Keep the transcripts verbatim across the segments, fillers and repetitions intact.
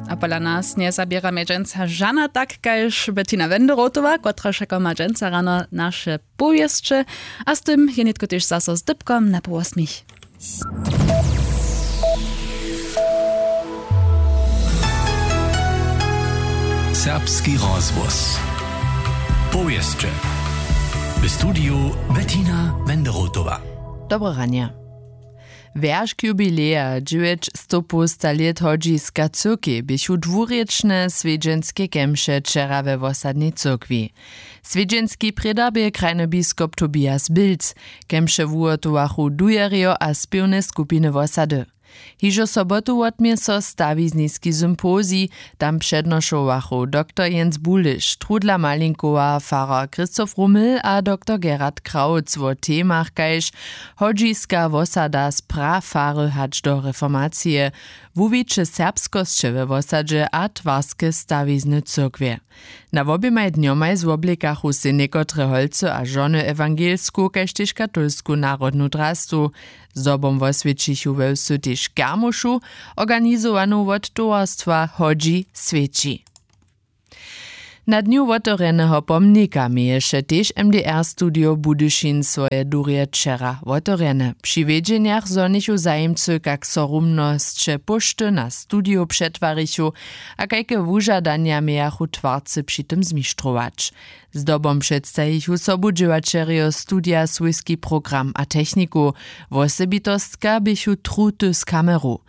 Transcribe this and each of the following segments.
A pola nas njezaběra mje dźensa žana tak kaž Bettina Wenderotowa, kotraž jako ma dźensa rano naše powěsće. A z tym je nětko tež zaso z dypkom na połosmich. Serbski rozhłos. Powěsće. W studiju Bettina Wenderotowa. Dobre ranje. Wjeršk jubileja dźewjećstopołsta lět hodźiska cyrkej běchu dwurěčne swjedźenske kemše wčera we wosadnej cyrkwi. Swjedźenski prědar bě krajny biskop Tobias Bilc. Kemše wuhotowachu dujerjo a spěwne skupiny wosady. Hižo sobotu wotmě so stawizniski sympozij. Tam přednošowachu doktor Jens Buliš, Trudla Malinkowa, farar Christoph Rummel a doktor Gerhard Krautz wo temach kaž hodźiska wosada z prafary hač do reformacije, wuwiće serbskosće we wosadźe a twarske stawizny cyrkwje. Na woběmaj dnjomaj zwoblikachu sej někotre holcy a žony ewangelsku kaž tež katolsku narodnu drastu. Zdobom woswjećichu we wsu tež kermušu, organizowanu wot towarstwa hodźi swjeći. Na dnju wotewrjeneho pomnika měješe tež mdr studio budyšin swoje durje wčera wotewrjene. Při wědźenjach zhonichu zajimcy kak so rumnosće póšty na studio přetwarichu a kajke wužadanja mějachu twarcy při tym zmištrować. Zdobom předstajichu sobudźěłaćerjo studija swójski program a techniku. Wosebitostka běchu truty z kameru.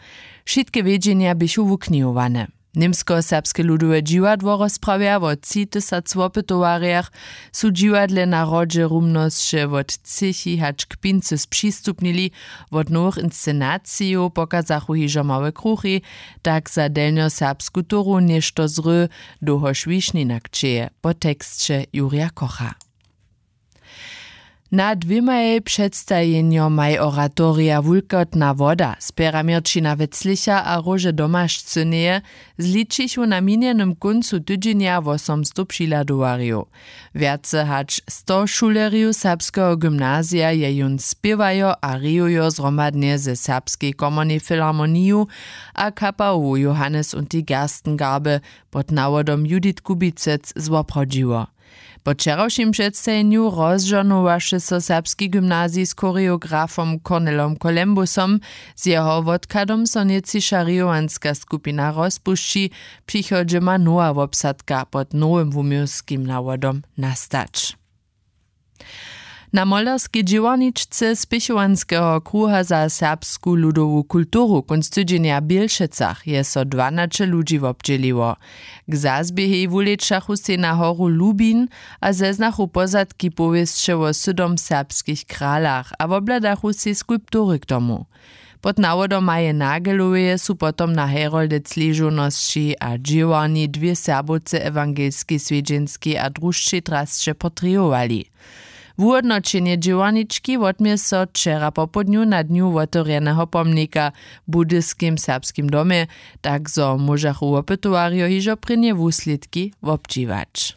Wšitke wědźenja běchu wuknihowane. Němskoserbske ludowe dźiwadło rozprawja wo tři tysac wopytowarjach. Su dźiwadle na hrodźe rumnosće wot třěchi hač k pincy spřistupnili. Wot nowych inscenacijow pokazachu hižo małe kruchi. Tak za delnjoserbsku toru něšto zry, dołhož wišnina kćeje po teksće jurja kocha. Na dwěmaj předstajenjomaj oratorija wulkotna woda spjera měrćina weclicha a róže domašcyneje zličichu na minjenym kóncu tydźenja wosomstow přihladowarjow. Wjace hač sto šulerjow serbskeho gymnazija je jón spěwajo a rejujo zhromadnje ze serbskej komornej filharmoniju a kapałowu johannes und die gerstengarbe pod nawodom judith kubicec zwoprawdźiło. Po wčerawšim předstajenju rozžohnowaše so serbski gymnazij z choreografom cornelom colembusom. Z jeho wotkadom so nětčiša rejowanska skupina rozpušći. Přichodźe ma nowa wobsadka pod nowym wuměłskim nawodom nastać. Na molerskej dźěłarničce spěchowanskeho kruha za serbsku ludowu kulturu kónc tydźenja w bělšecach je so dwanaće ludźi wobdźěliło. K zazběhej wulečachu sej na horu lubin a zeznachu pozadki powěsće wo sydom serbskich kralach a wobhladachu sej skulptury k tomu. Pod nawodom maje nageloweje su potom na heroldec ležownosći a dźěłarni dwě serbowce ewangelskej swjedźenskej a drušćej drasće portrejowali. Wuhódnoćenje dźěłarnički wotmě so wčera popołdnju na dnju wotewrjeneho pomnika w budyskim serbskim domje, tak zo móžachu wopytowarjo hižo prěnje wuslědki wobdźiwać.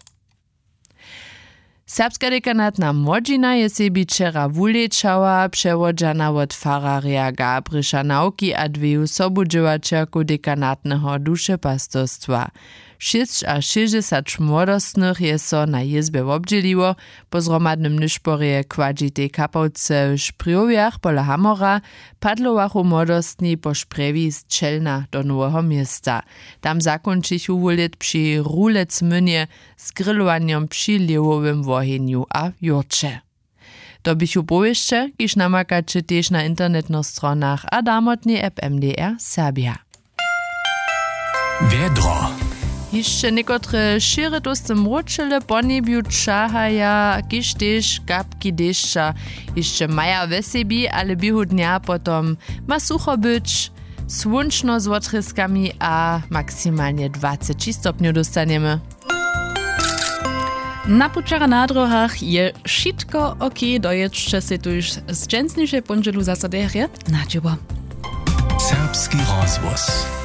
Serbska dekanatna młodźina je sebi wčera wulečała přewodźana wot fararja gabriša nawki a dweju sobudźěłaćerkow dekanatneho dušepastorstwa. Šěsćašěsćdźesać młodostnych je so na jězbje wobdźěliło. Po zhromadnym nyšporje w kładźitej kapałce w šprjowjach pola hamora padlowachu młodostni po šprjewi z čelna do noweho města. Tam zakónčichu wulět při rulecmynje z grilowanjom při lěhowym wohenju a jórće. To běchu powěsće kiž namakaće tež na internetnych stronach a damotnej app mdr serbja. Wjedro. Hišće někotre šěry tołsty mróčele po njebju ćahaja kiž tež kapki dešća hišće maja we sebi ale běhu dnja potom ma sucho być. Słónčno z wotrězkami a maksimalnje dwaceći stopnjow dóstanjemy. Na pućach a na dróhach je wšitko ok. Dojědźće sej tuž z dźensnišej póndźelu zaso derje na dźěło. Serbski rozhłos.